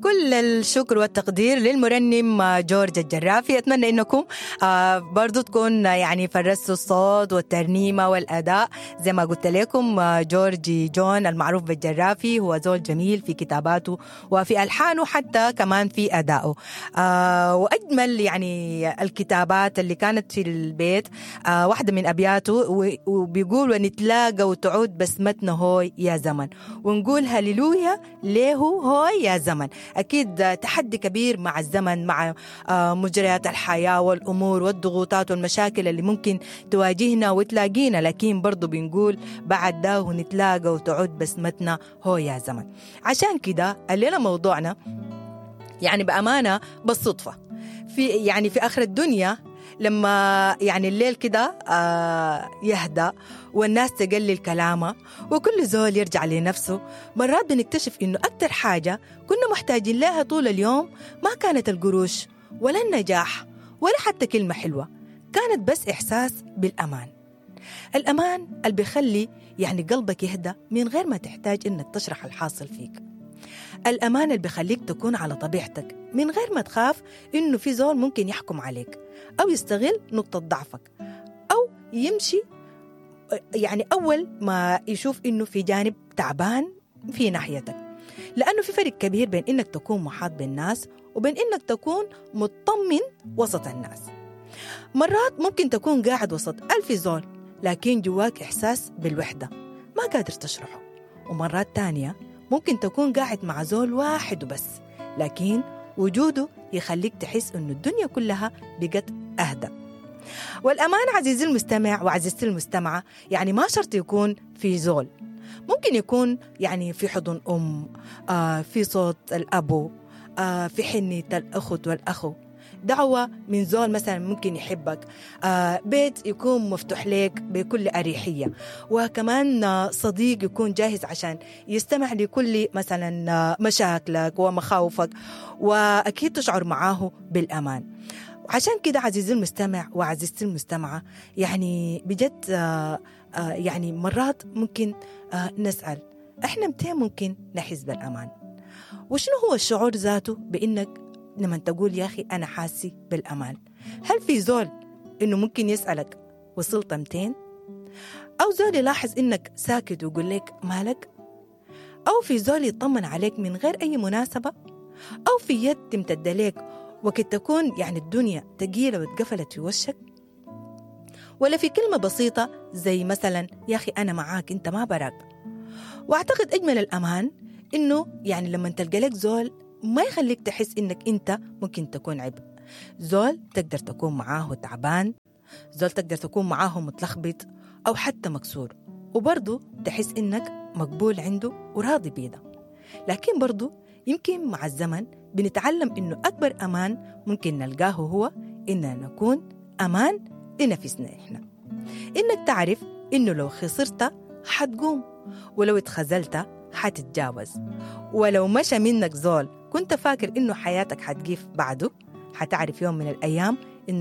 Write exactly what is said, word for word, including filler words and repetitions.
كل الشكر والتقدير للمرنم جورج الجرافي. أتمنى أنكم برضو تكون يعني فرستوا الصوت والترنيمة والأداء زي ما قلت لكم. جورج جون المعروف بالجرافي هو زول جميل في كتاباته وفي ألحانه، حتى كمان في أدائه. وأجمل يعني الكتابات اللي كانت في البيت واحدة من أبياته وبيقول: ونتلاقى وتعود بسمتنا هوي يا زمن، ونقول هللويا ليه هوي يا زمن. أكيد تحدي كبير مع الزمن، مع مجريات الحياة والأمور والضغوطات والمشاكل اللي ممكن تواجهنا وتلاقينا، لكن برضو بنقول بعد ده ونتلاقى وتعود بسمتنا هو يا زمن. عشان كده الليلة موضوعنا يعني بأمانة بالصدفة في يعني في آخر الدنيا، لما يعني الليل كده يهدأ والناس تقلل كلامها وكل زول يرجع لنفسه، مرات بنكتشف إنه أكتر حاجة كنا محتاجين لها طول اليوم ما كانت القروش ولا النجاح ولا حتى كلمة حلوة، كانت بس إحساس بالأمان. الأمان اللي بيخلي يعني قلبك يهدأ من غير ما تحتاج إنك تشرح الحاصل فيك. الأمان اللي بيخليك تكون على طبيعتك من غير ما تخاف إنه في زول ممكن يحكم عليك أو يستغل نقطة ضعفك أو يمشي يعني أول ما يشوف إنه في جانب تعبان في ناحيتك. لأنه في فرق كبير بين إنك تكون محاط بالناس وبين إنك تكون مطمن وسط الناس. مرات ممكن تكون قاعد وسط ألف زول لكن جواك إحساس بالوحدة ما قادر تشرحه، ومرات تانية ممكن تكون قاعد مع زول واحد وبس لكن وجوده يخليك تحس إنه الدنيا كلها بقت أهدى. والأمان عزيزي المستمع وعزيزتي المستمعة يعني ما شرط يكون في زول، ممكن يكون يعني في حضن أم، آه في صوت الأبو، آه في حنية الأخت والأخو، دعوة من زول مثلا ممكن يحبك، آه بيت يكون مفتوح لك بكل أريحية، وكمان صديق يكون جاهز عشان يستمع لكل مثلا مشاكلك ومخاوفك، وأكيد تشعر معاه بالأمان. عشان كده عزيزي المستمع وعزيزتي المستمعة يعني بجد آه آه يعني مرات ممكن آه نسأل احنا متى ممكن نحس بالأمان؟ وشنو هو الشعور ذاته بإنك لما تقول يا أخي أنا حاسي بالأمان؟ هل في زول إنه ممكن يسألك وصلت متين؟ أو زول يلاحظ إنك ساكت ويقول لك مالك؟ أو في زول يطمن عليك من غير أي مناسبة؟ أو في يد تمتد لك وقت تكون يعني الدنيا تقيلة واتقفلت في وشك؟ ولا في كلمة بسيطة زي مثلا يا أخي أنا معاك أنت ما براك؟ وأعتقد أجمل الأمان إنه يعني لما تلقى لك زول ما يخليك تحس إنك أنت ممكن تكون عبء، زول تقدر تكون معاه تعبان، زول تقدر تكون معاه متلخبط أو حتى مكسور، وبرضو تحس إنك مقبول عنده وراضي بيه ده. لكن برضو يمكن مع الزمن بنتعلم إنه أكبر أمان ممكن نلقاه هو إننا نكون أمان لنفسنا إحنا. إنك تعرف إنه لو خسرت حتقوم، ولو اتخذلت حتتجاوز، ولو مشى منك زول كنت فاكر إنه حياتك حتقيف بعده حتعرف يوم من الأيام